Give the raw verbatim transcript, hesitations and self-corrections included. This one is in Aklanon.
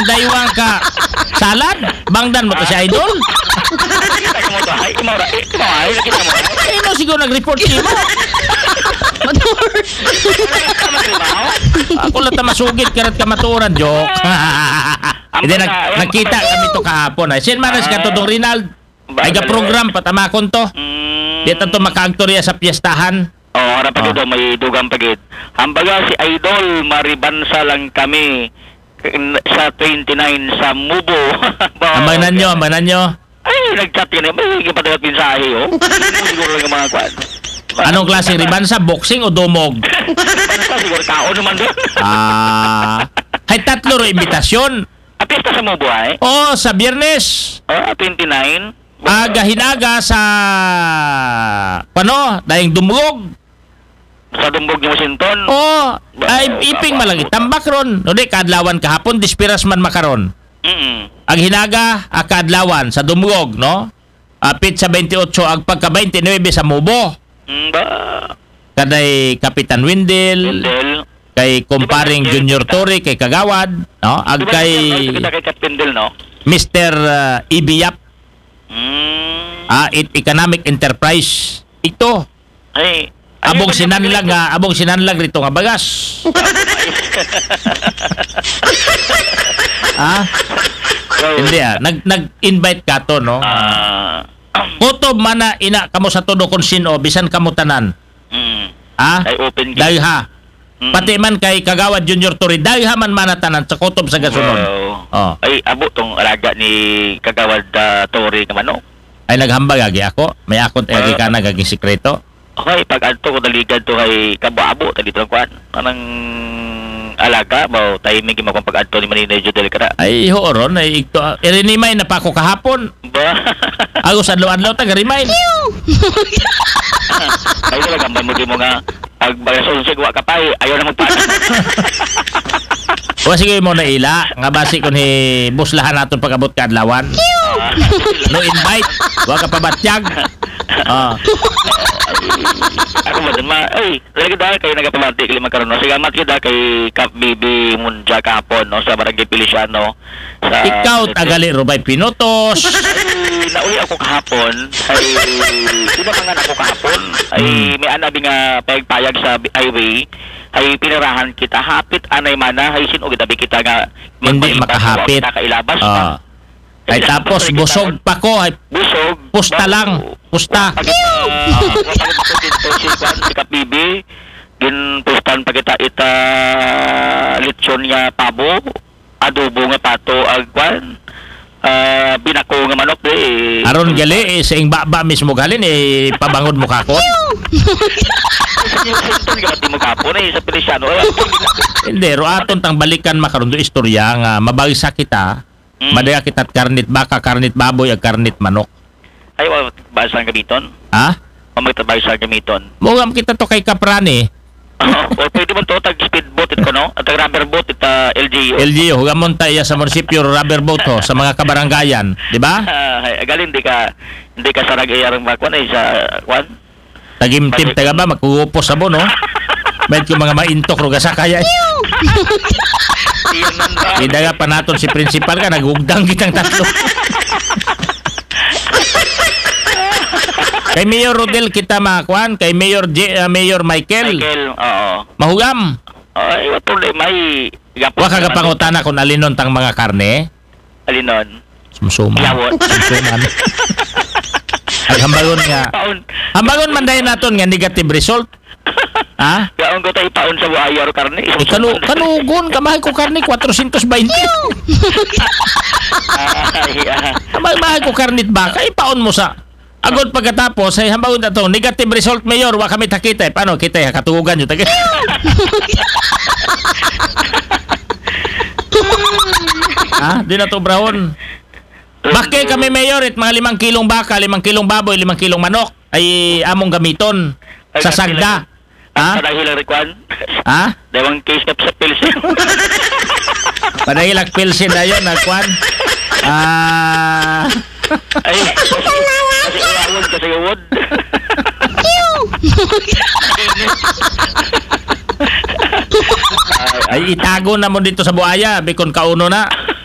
Daywang ka salad, bangdan mo to si Idol. Kita ka mo to, ay, imo ra, eh, imo, ay, kita mo. Ay, no, siguro nag-report si mo. Matur. Ako lang ta masugid, karat ka maturan, joke. Hindi, nag-, nagkita kami to kahapon, ay. Sin manas ka to, Dong Rinald? Ay, ga-program, patamakon to. Mm. Di ta to makaagtorya sa piyestahan. Oh, harap pa gid, may dugang pa gid. Hambaga si Idol, maribansa lang kami. Sa twenty-nine sa Mubo. Ambanan nyo, ambanan nyo. Ay, nag-chat yun eh. May gipadalat mensahe, oh. Hindi mo siguro lang yung mga kwan. Anong klaseng ribansa? Boxing o dumog? Ribansa, siguro tao naman doon. Ah. Hay tatlo ro imbitasyon. Ah, piyesta sa Mubo, ay? Oh, sa Biyernes. Ah, twenty-nine. Aga hinaga sa, pano, dayang dumog. Sa Dumbog ni Washington? Oo. Ay, iping malagi. Tambak ron. No, di, kaadlawan kahapon, dispiras man makaron. Mm. Ag hinaga, a kaadlawan, sa Dumgog, no? Apit sa twenty-eight, ag pagka twenty-nine sa Mubo. Mm, ba? Kaday Kapitan Windel, Windel. Kay Kumparing Junior Torre, kay Kagawad, no? Ag kay Kita kay Kat Windel, no? Mister, uh, Ibiyap. Mm. Ah, it economic enterprise. Ito. Ay, abong sinanlag nga, abong sinanlag rito nga bagas. Ha? So, hindi, ah. Nag-, nag-invite ka to, no? Ah. Kutob man na ina kamo sa todo kung sino, bisan kamo tanan. Mm. Ha? Ay, open case. Dayha. Mm. Pati man kay Kagawad Junior Torre, dayha man manatanan sa kutob sa gasunod. Wow. Oh. Ay, abo tong alaga ni Kagawad, ah, Torre nga manok. Ay, naghambag agi ako. May akon agi ka na gaging sikreto. Okay, pag adto ko daligad to kay Kabo-abo, ta dito ang kwan. Anang alaga ba, o timing yung makong pag adto ni Manila Judel ka na. Ay, ho, ron, ay, ito, ah, irinimay na pa ako kahapon. Ba? Ako sa adlaw-adlaw, taga-remind. Ay, wala kang mo nga, pag bagas unsig, wa ka pa, eh. Ayaw na magpa-, wa, sige mo na ila, nga basi ko ni buslahan naton pag-abot ka adlawan. No invite, wa ka pabatyag. Ah. Ako ba dun, ma-, ay, lagi dahil kayo nagapamati, kay Macaron, no? Sige, amat kita kay Kap Bibi Munja kahapon, no? Sa Barangay Feliciano. Sa ikaw, tagali, Rubay Pinutos. Ay, nauli ako kahapon. Ay, di ba mangan ako kahapon? Ay, hmm, may anabi nga payag-payag sa bi-, highway. Ay, pinirahan kita. Hapit, anay mana. Ay, sino gitabi kita nga hindi magpahipag, makahapit. Kita kailabas. Ah. Ay, tapos, busog pa ko. Ay, busog. Pusta lang. Pusta. Pag-, ah, pag-, pag-, si Kwan, si Kapibi, ginpustan pa kita ita lechon nga pabo. Adobo nga pato, ag kwan, ah, binako nga manok, di, eh. Aron gali, eh, sa ing baba mismo galin, eh, pabangod mo kako. Sa New Washington, gabati mo kapo na, eh, sa Feliciano. Ay, hindi, ro aton tang balikan makaron do istorya nga mabagsa kita, mm, madaya kita't karnit baka, karnit baboy, ag karnit manok. Ay, wa, ba sa gamiton? Ha? Wa magtabay sa gamiton. Mugam kita to kay Kaprani. O, pwede man to, tag speedboat ito, no? At tag rubber boat ito, L G U. L G U, hugamon ta iya sa munisipyo, rubber boat, ho, sa mga kabarangayan, di ba? Ah, ay, galing, di ka, di ka sarag iyarang bakwan, ay, sa, kwan? Tagimtim, taga ba, magkugupos sa bono. May ko mga maintok, ruga sa kaya. Iyon man ba? Idaga pa naton si principal ka, naghugdang kitang tatlo. Kay Mayor Rodel kita, mga kwan, kay Mayor J-, ah, Mayor Michael. Michael, oo. Mahugam. Ay, wa problema, ay, wa ka gapangutana kung alinon tang mga karne? Alinon? Sumsuman. Yawon. Sumsuman. Ag hambagon nga. Paon. Hambagon man dahil naton nga negative result. Ha? Yaon ko tayo paon sa buaya ro karne. Eh, kanu-, kanugon, kamahay ko karne, kwatrosyentos baynte. Ay, ah. Kamahay, mahay ko karne at baka, ipaon mo sa. Agod pagkatapos, ay hambagon na to, negative result, Mayor, wa kami takita, eh. Paano kita, eh, katugugan nyo, taga-, ha? Di na to, Brown. Bakit kami, Mayor, it mga limang kilong baka, limang kilong baboy, limang kilong manok, ay among gamiton sa sagda. Ha? Padahil ang rikuan? Ha? Dawang case na sa pilsen. Padahil ang pilsen na yun, nagkuan. Ah. Ay, kasi uwawon, kasi uwod. Ay, itago na mo dito sa buaya, bikon kauno na.